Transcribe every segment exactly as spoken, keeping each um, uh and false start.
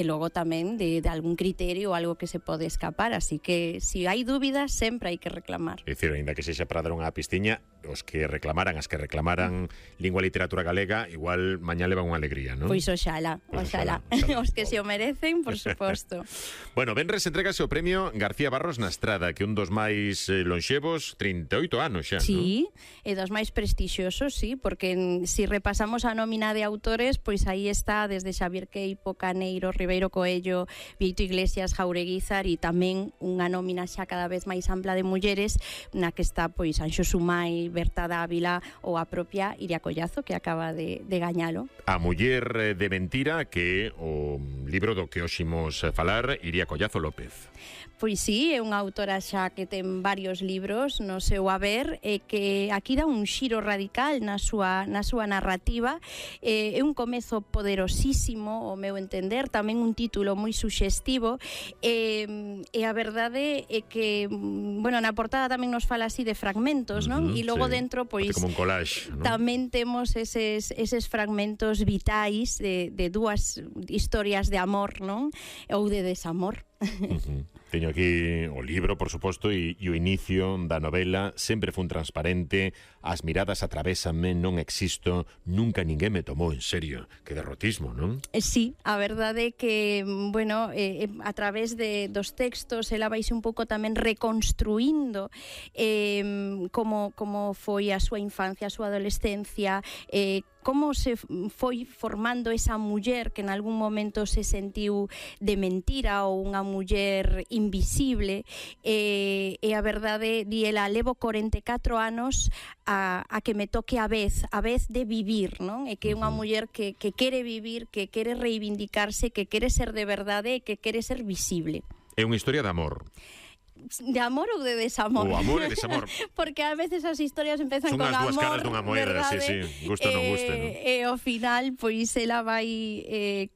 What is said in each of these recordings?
e logo tamén de, de algún criterio ou algo que se pode escapar, así que se si hai dúbidas sempre hai que reclamar. É dicir, ainda que sexa para dar unha pistiña, os que reclamaran, as que reclamaran lingua e literatura galega, igual mañá levan unha alegría, non? Pois oxala, Pois oxala, oxala, oxala. os que se o merecen, por suposto. Bueno, venres entregase o premio García Barros na Estrada, que é un dos máis eh, lonxevos, trinta e oito anos xa, Sí, non? e dos máis prestixiosos, sí, porque en, si repasamos a nómina de autores, pois aí está desde Xavier Queipo, Caneiro, Ribeiro Coello, Vieito Iglesias, Jaureguizar, e tamén unha nómina xa cada vez máis ampla de mulleres, na que está pois Anxo Sumai, Berta Dávila ou a propia Iria Collazo, que acaba de, de gañalo. A muller de mentira, que é o libro do que hoxe imos falar, Iria Collazo López. Pois sí, é unha autora xa que ten varios libros no seu haber e que aquí dá un xiro radical na súa, na súa narrativa. Eh, é un comezo poderosísimo, o meu entender, tamén un título moi suxestivo, e, e a verdade é que, bueno, na portada tamén nos fala así de fragmentos, non? Uh-huh, e logo sí. dentro, pois, como un collage, non? Tamén temos eses, eses fragmentos vitais de, de dúas historias de amor, non? Ou de desamor. Uh-huh. Teño aquí o libro, por suposto, e, e o inicio da novela. Sempre fun transparente, as miradas atravésanme, non existo, nunca ninguén me tomou en serio. Que derrotismo, non? Sí, a verdade é que, bueno, eh, a través de, dos textos ela vaise un pouco tamén reconstruindo eh, como, como foi a súa infancia, a súa adolescencia, eh, como se foi formando esa muller que en algún momento se sentiu de mentira ou unha muller invisible, e, e a verdade, di ela, levo corenta e catro anos a, a que me toque a vez, a vez de vivir, non? E que é unha muller que, que quere vivir, que quere reivindicarse, que quere ser de verdade e que quere ser visible. É unha historia de amor. De amor ou de desamor? O amor e desamor. Porque a veces as historias empezan Son con as amor, dúas caras dunha moeda, sí, sí, guste ou non guste, non? E ao final, pois, ela vai eh,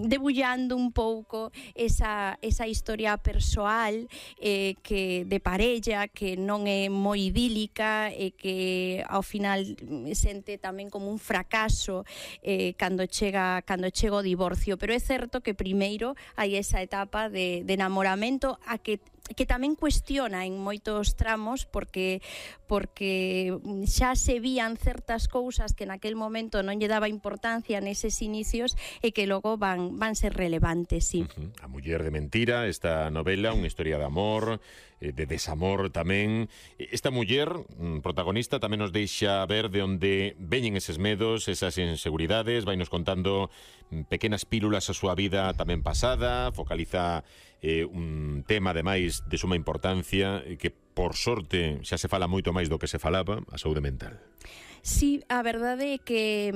debullando un pouco esa, esa historia persoal eh, que de parella, que non é moi idílica e que ao final sente tamén como un fracaso eh, cando chega cando chega o divorcio. Pero é certo que primeiro hai esa etapa de, de enamoramento a que que tamén cuestiona en moitos tramos porque porque xa se vían certas cousas que naquel momento non lle daba importancia neses inicios e que logo van van ser relevantes, sí. Uh-huh. A muller de mentira, esta novela, unha historia de amor, de desamor tamén. Esta muller protagonista tamén nos deixa ver de onde veñen eses medos, esas inseguridades, vai nos contando pequenas pílulas a súa vida tamén pasada, focaliza eh, un tema ademais de suma importancia que por sorte xa se fala moito máis do que se falaba, a saúde mental. Sí, a verdade é que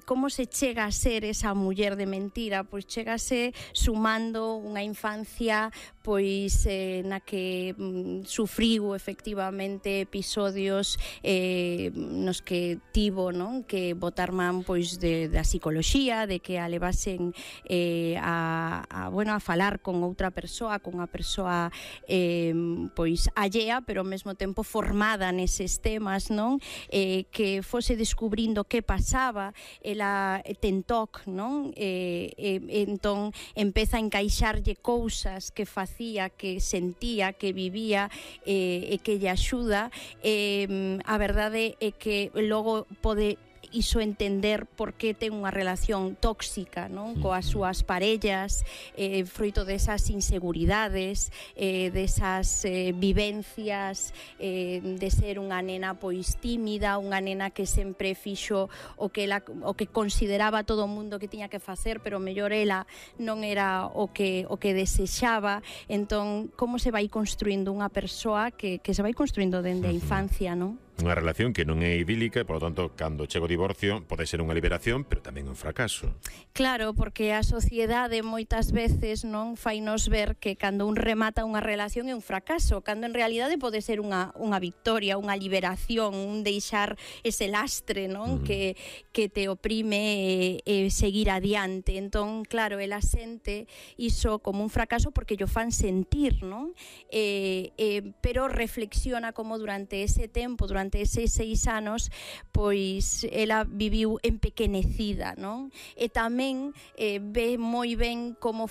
como se chega a ser esa muller de mentira, pois chegase sumando unha infancia pois eh, na que mm, sufriu efectivamente episodios eh, nos que tivo, non, que botar man pois de da psicoloxía, de que a levasen eh, a, a bueno, a falar con outra persoa, con unha persoa eh, pois allea, pero ao mesmo tempo formada neses temas, non? Eh, que fose descubrindo que pasaba, ela ten T O C, non? E, e, entón empeza a encaixarlle cousas que facía, que sentía, que vivía e, e que lle axuda. E, a verdade é que logo pode iso entender por que ten unha relación tóxica, non, coas súas parellas, eh, froito desas inseguridades, eh, desas eh, vivencias eh, de ser unha nena pois tímida, unha nena que sempre fixo o que ela, o que consideraba todo o mundo que tiña que facer, pero mellor ela non era o que o que desexaba. Entón, como se vai construindo unha persoa que, que se vai construindo dende a infancia, non? Unha relación que non é idílica, por lo tanto, cando chega o divorcio pode ser unha liberación, pero tamén un fracaso. Claro, porque a sociedade moitas veces non fainos ver que cando un remata unha relación é un fracaso, cando en realidade pode ser unha, unha victoria, unha liberación, un deixar ese lastre, non, mm. que, que te oprime e, e seguir adiante. Entón, claro, ela sente iso como un fracaso porque yo fan sentir, non? Eh, eh, pero reflexiona como durante ese tempo, durante durante eses seis anos pois ela viviu empequenecida, non? E tamén eh, ve moi ben como